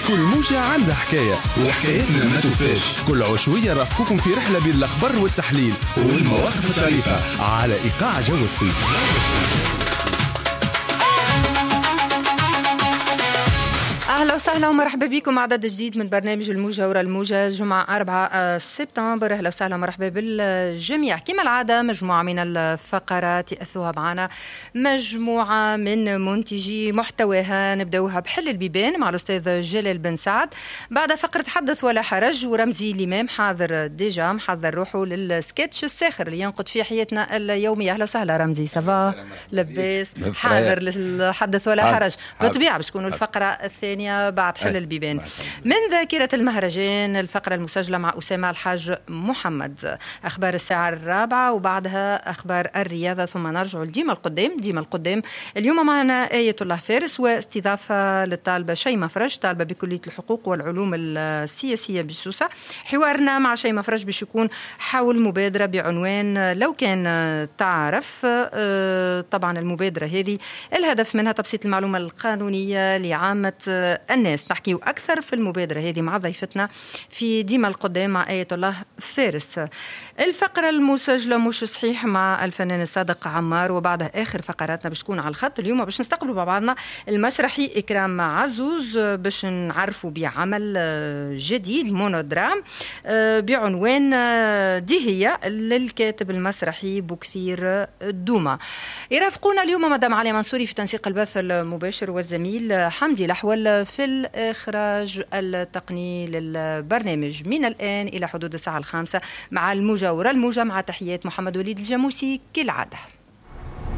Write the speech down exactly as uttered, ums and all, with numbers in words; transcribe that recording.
كل موجة عندها حكاية وحكايتنا ما توفاش. كل عشوية رافقكم في رحلة بين الأخبار والتحليل والمواقف الطريفة على إيقاع جو الصيف. اهلا وسهلا ومرحبا بكم، عدد جديد من برنامج الموجة ورا الموجة، جمعة أربعة سبتمبر. اهلا وسهلا ومرحبا بالجميع. كما العادة مجموعة من الفقرات يأثوها معنا مجموعة من منتجي محتواها، نبداوها بحل البيبان مع الأستاذ جلال بن سعد، بعد فقرة حدث ولا حرج، ورمزي الإمام حاضر déjà محضر روحه للسكتش الساخر اللي ينقد فيه حياتنا اليومية. اهلا وسهلا رمزي، ça va لاباس؟ حاضر للحدث ولا حرج بالطبيعة باش تكونوا الفقرة الثانية بعد حل البيبان. من ذاكرة المهرجان الفقرة المسجلة مع أسامة الحاج محمد، أخبار الساعة الرابعة وبعدها أخبار الرياضة، ثم نرجع لديما القدام. ديما القدام اليوم معنا آية الله فارس واستضافة للطالبة شيماء فرج، طالبة بكلية الحقوق والعلوم السياسية بسوسة. حوارنا مع شيماء فرج باش يكون حول مبادرة بعنوان لو كان تعرف. طبعا المبادرة هذه الهدف منها تبسيط المعلومة القانونية لعامة الناس. نحكيو أكثر في المبادرة هذه مع ضيفتنا في ديما القدام مع آية الله فارس. الفقرة المسجلة مش صحيح مع الفنان الصادق عمار، وبعدها آخر فقراتنا باش تكون على الخط اليوم باش نستقبلوا مع بعضنا المسرحي إكرام عزوز باش نعرفوا بعمل جديد مونودرام بعنوان دي هي للكاتب المسرحي بوكثير دوما. يرافقونا اليوم مدام علي منصوري في تنسيق البث المباشر والزميل حمدي الأحول في الإخراج التقني للبرنامج. من الآن إلى حدود الساعة الخامسة مع الموجة ورا الموجة، مع تحيات محمد وليد الجاموسي كالعادة.